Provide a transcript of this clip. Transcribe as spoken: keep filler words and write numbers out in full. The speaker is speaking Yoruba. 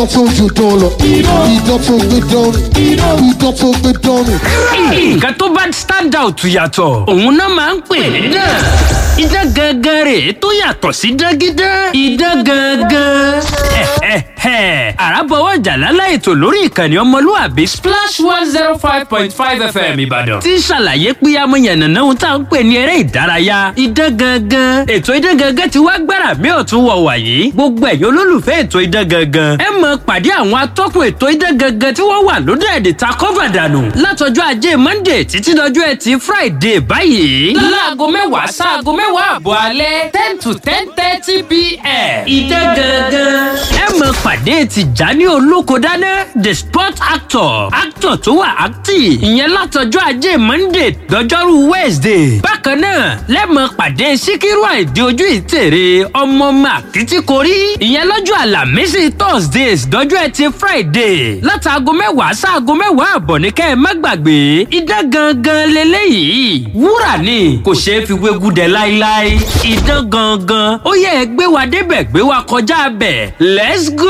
Idán tó ju dán lọ. Idán tó gbé dán ni. Idán tó gbé dán ni. Nǹkan tó bá stand out yàtọ̀, òun náà máa ń pè ní dán. Idán gangan rè tó yàtọ̀ sí dágídán. Idán gangan. Àràbọ̀wọ̀ jàlálà ètò lórí ìkànnì ọmọlúwàbí Splash one zero five point five F M Ìbàdàn. Tí ń ṣàlàyé pé amóyànnàná ohun tá à ń pè ní eré ìdárayá. Idán gangan. Ètò idán gangan ti wá gbára mi ọ̀tún wọ̀ wàyí. Gbogbo ẹ̀yin olólùfẹ́ ètò idán gangan, ẹ mọ̀ pàdé àwọn atọ́kùn ètò idán gangan tí wọ́n wà lóde ẹ̀dẹ̀ ta kọ́fà dànù. Látọjọ́ ajé Monday títí dọjọ́ ẹtì Friday báyìí. Láago mẹ́wàá sáago mẹ́wàá àbọ̀ alẹ́, ten to ten thirty p m. Idán gangan. Ẹ mọ̀ pàdé Tìjání Olókodáná, the sport actor, actor tó wà active. Ìyẹn látọjọ́ ajé Monday dọjọ́rú Wednesday. Bákan náà lẹ́mọ̀ pàdé Síkírù Àìdí ojú ìtèrè, ọmọ màkìtìkórí. Ìyẹn lọ́jọ́ Àlàmísì, Thursdays, dọjọ́ ẹtì Friday. Látàgọ́ mẹ́wàá sáago mẹ́wàá àbọ̀ ní kẹ́ ẹ má gbàgbé. Idán gangan leléyìí. Wúrà ni, kò ṣeé fi wégú dẹ láíláí. Idán gangan. Ó yẹ ẹ gbé wa débẹ̀, gbé wa kọjá bẹ̀. Let's go.